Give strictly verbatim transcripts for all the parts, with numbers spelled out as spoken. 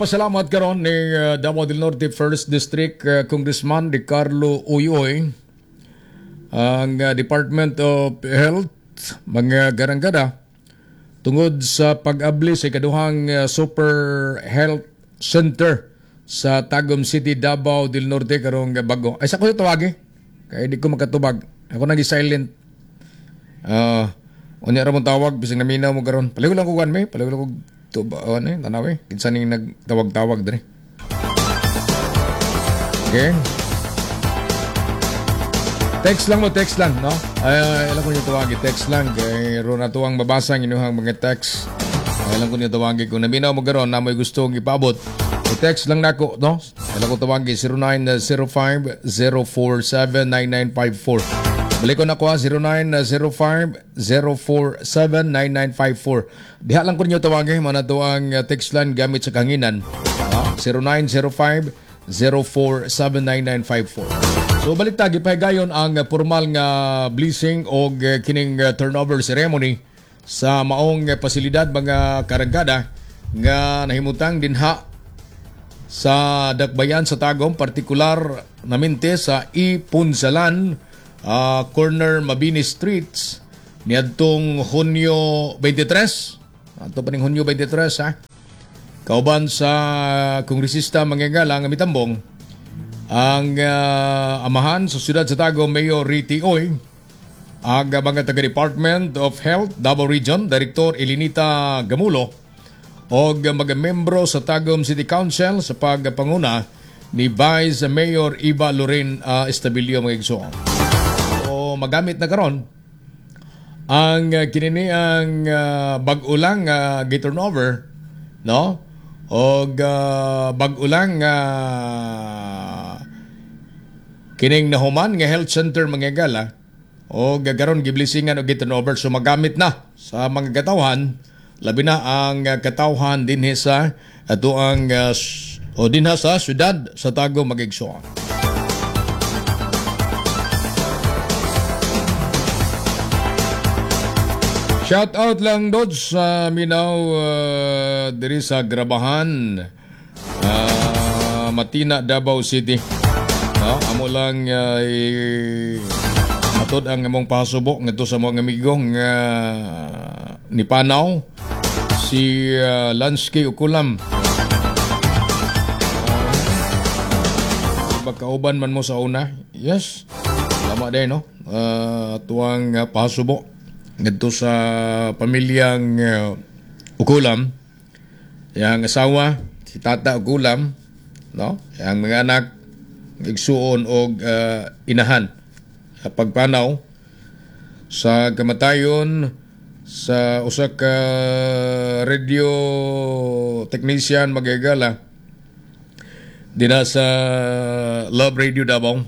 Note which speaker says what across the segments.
Speaker 1: Pasalamat karon ni uh, Davao del Norte First District uh, Congressman Ricardo Uyoy, ang uh, Department of Health, mga garangkada, tungod sa pag-abli sa ikaduhang uh, Super Health Center sa Tagum City, Davao del Norte karong bago. Ay, sa ko tawagi kay di ko makatubag. Ako nagi silent. Uh, unya ra mong tawag bisag naminaw mo karon. Paliw lang ko kan me, paliw lang ko tuba ano eh, tanaw eh. Kinsa ning nagtawag-tawag diri. Okay. Text lang mo, text lang, no? Ay, ay alam ko niyo tawagi, text lang kay ron ato ang mabasa ang inyong mga text. Ay, alam ko niyo tawagi kung naminaw mo karon na may gusto ipabot. I-text lang nako, no? Alam ko tawagi zero nine zero five, zero four seven, nine nine five four. Balik ko na ko, zero nine zero five, zero four seven, nine nine five four. Diha lang ko ninyo tawagi, mana to ang uh, text line gamit sa kanginan. Ah, zero nine zero five, zero four seven, nine nine five four. So balik ta, gipahigayon ang uh, formal nga blessing og uh, kining uh, turnover ceremony sa maong uh, pasilidad, mga karangkada, nga nahimutang dinha sa Dakbayan sa Tagum, partikular namente sa Ipunsalan, uh, corner Mabini Streets, niadtong Hunyo twenty-three. Ato pa ning Hunyo twenty-three ha. Kauban sa kongresista manggagala nga mitambong ang uh, amahan sa siyudad sa Tagum, Mayor Riti Oy, ang mga taga Department of Health Davao Region, Director Elinita Gamulo, og mga membro sa Tagum City Council sa pagpanguna ni Vice Mayor Iba Loren uh, Estabilio, mga igsoon. So magamit na karon ang uh, kinini ang uh, bag-o lang uh, turnover, no, og uh, bag-o lang uh, kining nahuman nga health center, mga gala, og karon giblisingan og giturnover, so magamit na sa mga katawhan, labi na ang uh, katawhan dinhi sa ato ang uh, o dinha sa syudad sa Tagum, mga igsoon. Shout out lang Dodge sa Minaw uh, diri sa Grabahan, uh, Matina, Davao City. No, amo lang uh, atod ang among pasubo ngadto sa mga amigo nga ni Panaw, si uh, Lansky Ukulam. Uh, Pagkauban man mo sa una. Yes. Tama din, no? Uh, tuwang uh, pasubo ngadto sa pamilyang uh, Ukulam, yang asawa si Tata Ukulam, no, yang mga anak, igsuon og uh, inahan sa pagpanaw sa kamatayon sa usa ka radio technician, magigala, dina sa Love Radio Davao.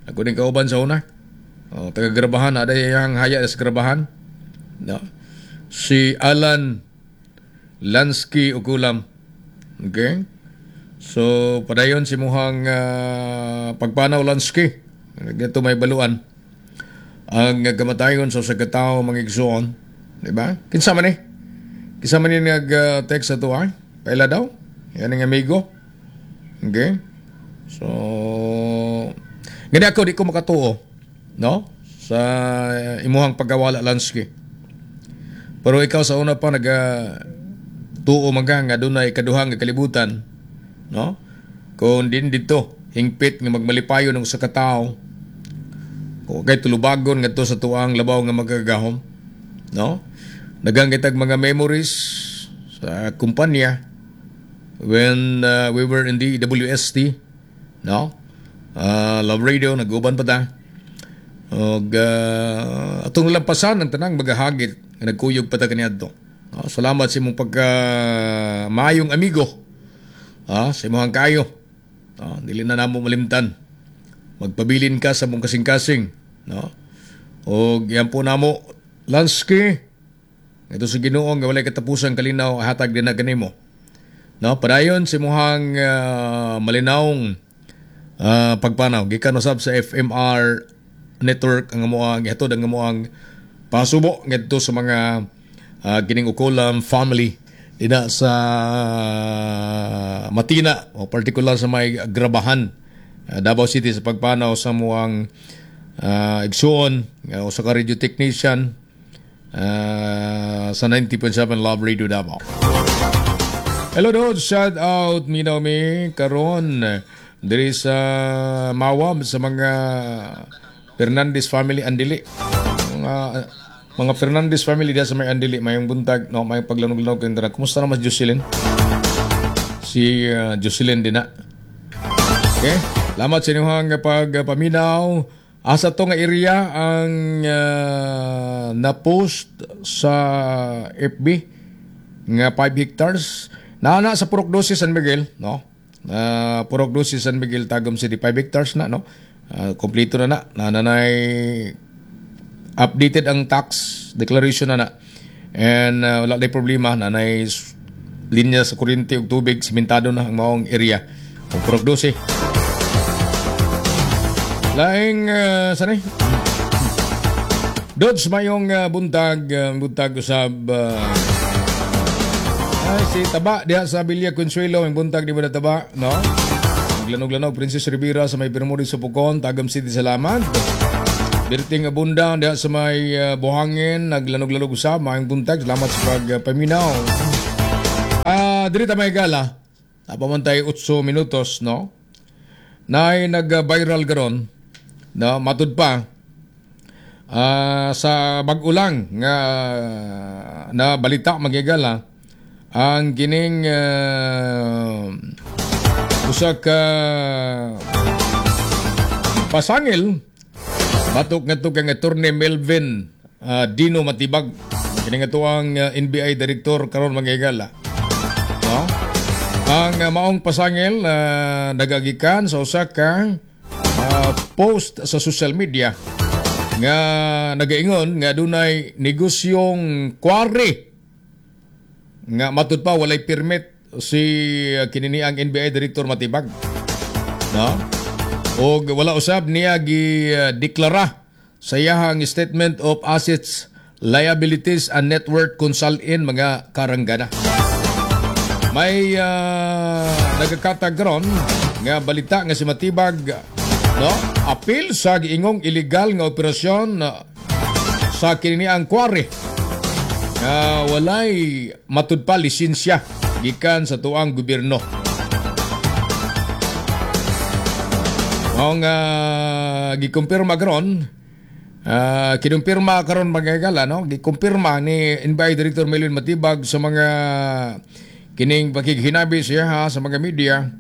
Speaker 1: Ako din kauban sa una. Oh, taga Grabahan, ada yang haya sa Grabahan. No. Si Alan Lansky Ukulam. Okay? So, padayon si muhang uh, pagpanaw, Lansky. Dito may baluan ang kamatayon sa sa katao, mga igsoon. Di ba? Kinsa man eh? Kinsa man ni nag-text sa tuwa? Paila daw? Yan ang amigo. Okay? So, gani ako di ko makatuo, no? Sa imuhang pagkawala, Lansky. Pero ikaw sa una pa naga tuo maga nga dunay kaduhang nga kalibutan, no? Kung din dito hingpit nga magmalipayon ng usa ka tawo, kung kay tulubagon ngadto sa tuang labaw nga magagahom, no? Daghang kitag mga memories sa kumpanya when uh, we were in the W S T, no? Uh, Love Radio, nag-uban pa ta. Og uh, atong lampasan ang tanang magahagit nga nagkuyog pa ta kaniadto. No? Salamat sa imong pagka maayong amigo. Ah, sa imong kayo. No? Dili na namo malimtan. Magpabilin ka sa mong kasing-kasing, no? Og yan po namo, Lansky. Ito sa Ginoo nga walay katapusan kalinaw hatag din na kanimo. No, padayon sa imuhang uh, malinawong uh, pagpanaw. Gikan usab sa F M R Network ang amoang gihatod ang amoang pasubo ngadto sa mga uh, kining Ukulam family Ina sa Matina o partikular sa may Grabahan, uh, Davao City, sa pagpanaw sa muang uh, igsuon uh, usa ka radio technician uh, sa ninety point seven Love Radio Davao. Hello Dod, shout out minaw mi karon diri sa Mawab sa mga Fernandez family Andili. Mga mga Fernandez family diya sa may Andili, mayong buntag, no, may paglanog-lanog kayong tanan. Kumusta naman si Jocelyn? Si uh, Jocelyn din na. Okay? Salamat sa inyong pagpaminaw. Asa to nga area ang uh, na-post sa F B nga five hectares? Naa sa Purok Dose, San Miguel, no? Uh, Purok Dose, San Miguel, Tagum City, five hectares na, no? Uh, kompleto na na. Nananay updated ang tax declaration na na. And uh, wala na problema, nanay linya sa kuryente ug tubig, simentado na ang maong area. O Purok Dose. Laing uh, sanay. Dods, mayong uh, buntag, uh, buntag usab uh, ay, si Taba diha sa Villa Consuelo, ang buntag di ba na Taba, no? Maglanog-lanog, Princess Rivera sa may Bermudez sa Pukon, Tagum City, salamat. Berting Abunda diha sa may uh, Buhangin, naglanog-lanog usab, mayong buntag, salamat sa pagpaminaw. Ah, uh, diri ta may gala. Napaman tayo eight minutos, no? Naay nag-viral karon, no, matud pa uh, sa bag-ulang nga na balita, magigala, ang kining uh, usa ka pasangil batok ngadto kang Attorney Melvin uh, Dino Matibag, kini nga ang uh, N B I director karon, mga higala, no? Ang uh, maong pasangil uh, nagagikan sa usa ka uh, post sa social media nga nagaingon nga dunay negosyong quarry nga matud pa walay permit si uh, kinini ang N B I Director Matibag, no? Og wala usab niya gi-deklara sa iyahang statement of assets, liabilities and net worth kung salin, mga karanggana. May uh, nagakatag karon nga balita nga si Matibag, no, apil sa giingong illegal nga operasyon uh, sa kini ang quarry nga walay matud pa lisensya gikan sa tuang gobyerno. Ang uh, gikumpirma karon, uh, kinumpirma karon, mga higala, no? Gikumpirma ni N B I Director Melvin Matibag sa mga kining pakighinabi siya ha, sa mga media,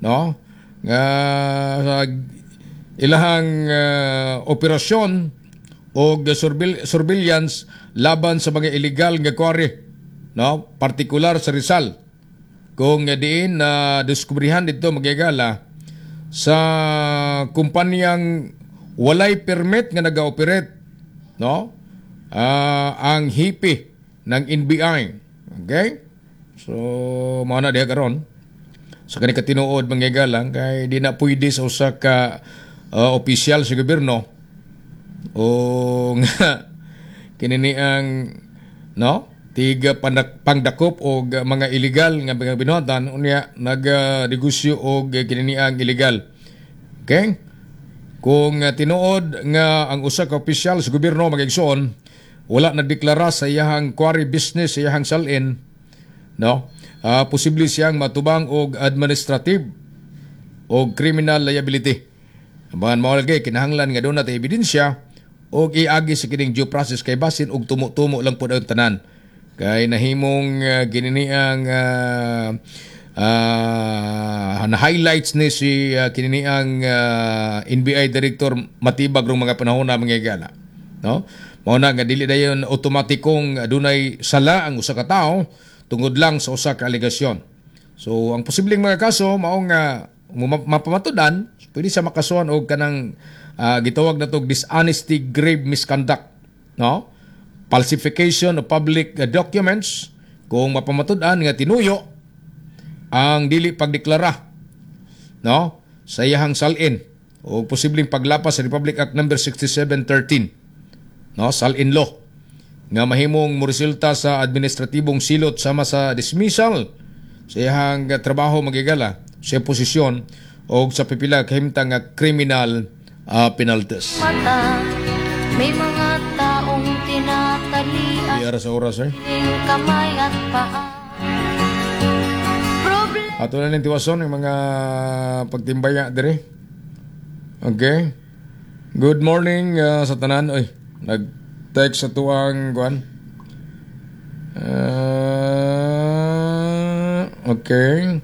Speaker 1: no? Nga sa ilahang uh, operasyon o surveillance laban sa mga illegal nga quarry, no? Partikular sa Rizal. Kung diin na uh, diskubrihan dito, mga higala, sa kumpanyang walay permit nga naga-operate, no, uh, ang hipi ng N B I. Okay, so mao na diha karon sa kani katinuod, mga higala, kay di na pwede sa usa ka uh, opisyal sa gobyerno o nga kini ang, no, tiga pandak, pangdakop og mga illegal nga mga binuhatan, unya nagnegosyo og kini ang illegal. Okay? Kung uh, tinuod nga ang usa ka opisyal sa gobyerno, mga igsoon, wala nagdeklara sa iyahang quarry business, sa iyahang salin, no? Uh, posible siyang matubang og administrative o criminal liability. Aban mao lagi kinahanglan nga doon natin ebidensya og iagi sa kining due process kay basin og tumo-tumo lang pud ang tanan. Kay nahimong uh, gininiang uh, uh, na highlights ni si uh, kininiang uh, N B I Director Matibag rong mga panahon na, mga higala. No? Mao na nga dili dayon otomatikong adunay sala ang usa ka tawo tungod lang sa usa ka alegasyon. So ang posibleng mga kaso mao nga mapamatudan, pwede siya makasuhan og kanang uh, gitawag na og dishonesty, grave misconduct, no? Falsification of public uh, documents kung mapamatud-an nga tinuyo ang dili pagdeklara, no, sa iyahang salin o posibleng paglapas sa Republic Act Number sixty-seven thirteen, no, salin law. nga mahimong moresulta sa administratibong silot sama sa dismissal sa iyang trabaho, mga higala, sa posisyon o sa pipila kahimtang nga criminal uh, penalties.
Speaker 2: Mata, may mga taong tinatalian
Speaker 1: Iyara sa oras eh.
Speaker 2: ng kamay at paa. Problem
Speaker 1: Ato na ning tiwason yung mga pagtimbaya dire. Okay. Good morning uh, sa tanan. Oy, nag-text sa tuang kuan. Uh, okay.